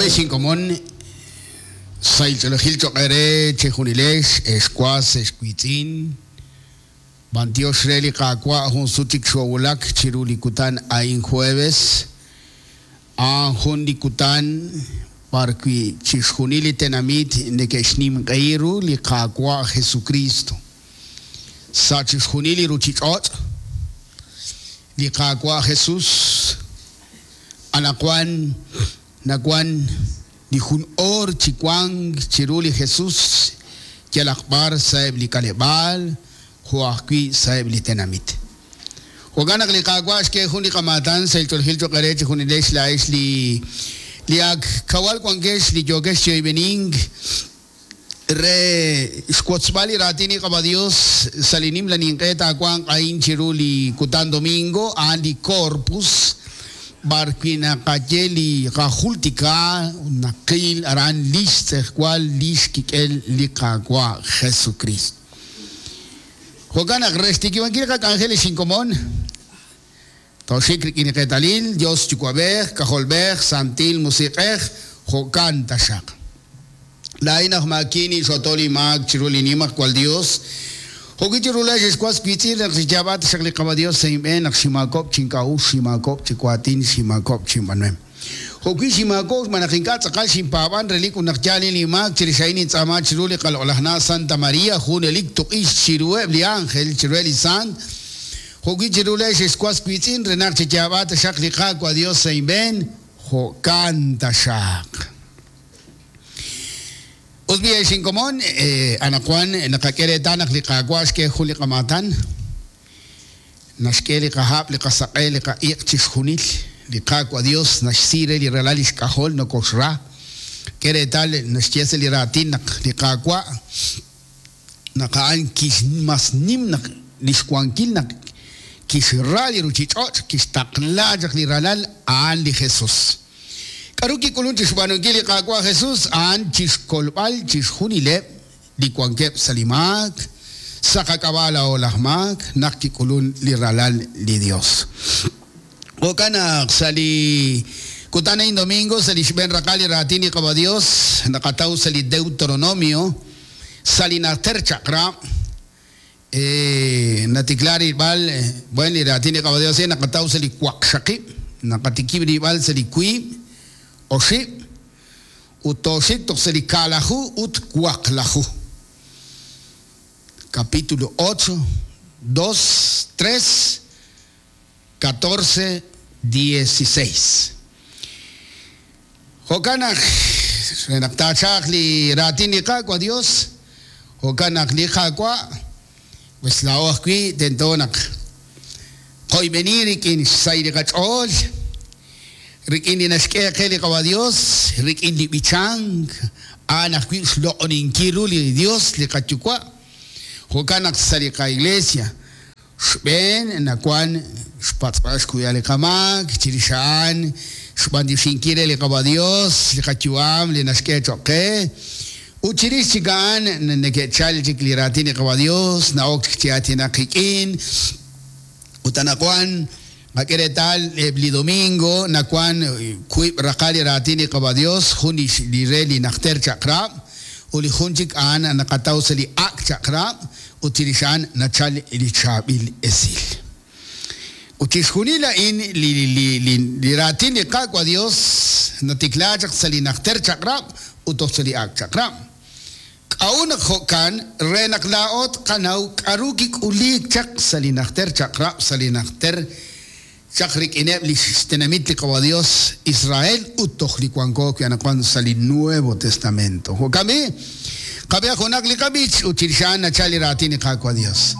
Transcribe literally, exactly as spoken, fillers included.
Xinkomon saych'olojil choq'ere chejunilex exwas exwitzin bantiox re li qaawa' jun sut chik xowulak chiru li kutan a'in jueves a'an jun li kutan b'arwi' chixjunil li tenamit neke'xnimq'ehi ru li qaawa' Jesucristo sa' chixjunil li ruchich'och' li qaawa' Jesus anaqwan nawan li jun oor chi wank chiru li Jesus yalaq b'ar sa'eb' li k'aleb'aal jo' ajwi' sa'eb' li tenamit. Jo'kan naq li qaawa' xk'e jun li qamaatan saych'olojil choq'ere chijunilex la'ex li li ak kawal wankex li yookex chi'oyb'enink re xwotzb'al li raatin li Qaba Dios sa' li nimla ninq'e taawanq a'in chiru li kutan domingo a'an li Corpus b'arwi' naqaye li qajultika naqil aran lix tz'ejwal lix kik'el li qaawa' Jesucristo. Jo'kan naq re xtikibankil qak'anjel li xinkomon toxik rik'in li qeetalil Dios Yuwa'b'ej Kajolb'ej Santil Musiq'ej jo'kan taxaq. Laa'in aj maakini xotol li maak chiru li nimajwal Dios jo'wi chiru la'ex exwas wiitz'in naq xiyaab'at xaq li Qaba Dios sa' inb'een naq ximaakok' chink'a'uxl ximaakok' chiwaatin ximaakok' chinb'anuem. Jo'wi ximaakok' xb'aan naq ink'a' tz'aqal xinpaab'an relik ut naq yaal li maak chirix a'in intz'aama chiru li qaloq'laj Santa María junelik tuq'ix chiruheb' li ángel chiruheb' li sant jo'wi chiru la'ex exwas wiitz'in re naq chiyaab'at xaq li Qaawa' Dios sa' inb'een jo'kan taxaq. Usbi xinkomon anaqwan naqak'e reetal naq li qaawa' xk'e jun li qamaatan naxk'e li qahab' li qasaq'e li qa'iq' chixjunil li Qaawa' Dios naxsi re li ralal li xk'ajol nokoxra k'e reetal naxye sa' li raatin naq li qaawa' naq a'an kix mas nim naq li xwankil naq kixra li ruchich'och' kixtaqla chaq li ralal a'an li Jesus. K'aru kik'ulun chixb'aanunkil li Qaawa' Jesus a'an chixkolb'al chixjunileb' li wankeb' sa' li maak sa' qak'ab'a' laa'o laj maak naq kik'ulun li ralal li Dios. Jo'kan naq sa' li kutan a'in domingo sa' li xb'een raqal li raatin li Qaba Dios naqataw sa' li Deuteronomio sa' li najter chaq'rab' natikla rilb'al bueno li raatin li Qaba Dios naqataw sa' li waqxaqib' naqatikib' rilb'al sa' li wiib' oxib' ut toxik toq sa' li kaalaju ut waqlaju. Capítulo ocho, dos, tres, catorce, dieciséis. Jo'kan naq naq taachaq li raatin li Qaawa' Dios jo'kan naq li Qaawa' pues laa'o ajwi' tento naq qoyb'eni rik'in xsay li qach'ool rik'in li naxk'e qe li Qaba Dios rik'in li b'ichank a'an ajwi' xloq'oninkil ru li Dios li qayuwa' jo'kan naq sa' li qa'iglesia xb'een nawan xpatz'b'al xkuyal li qamaak chirix a'an xb'antioxinkil re li Qaba Dios li qayu'am li naxk'e choq' qe ut chirix chik a'an neke'chal chik li raatin li Qaba Dios na'ok chik chi aatinaq qik'in ut anaqwan qak'e reetal eb' li domingo nawan wiib' raqal li raatin li Qaba Dios jun li re li najter chaq'rab' ut li jun chik a'an naqataw sa' li ak' chaq'rab' ut chirix a'an nachal li chaab'il esil. Ut chixjunil a'in li li li li raatin li Qaawa' Dios natikla chaq sa' li najter chaq'rab' ut toj sa' li ak' chaq'rab'. K'a'u naq jo'kan re naq laa'o tqanaw k'aru kik'uliik chaq sa' li najter chaq'rab' sa' li najter chaq rik'ineb' li xtenamit li Qaba Dios Israel ut toj li wanko wi' anaqwan sa' li Nuevo Testamento. Jo'kan b'i qab'e junaq li qab'ich ut chirix a'an nachal li raatin li Qaawa' Dios.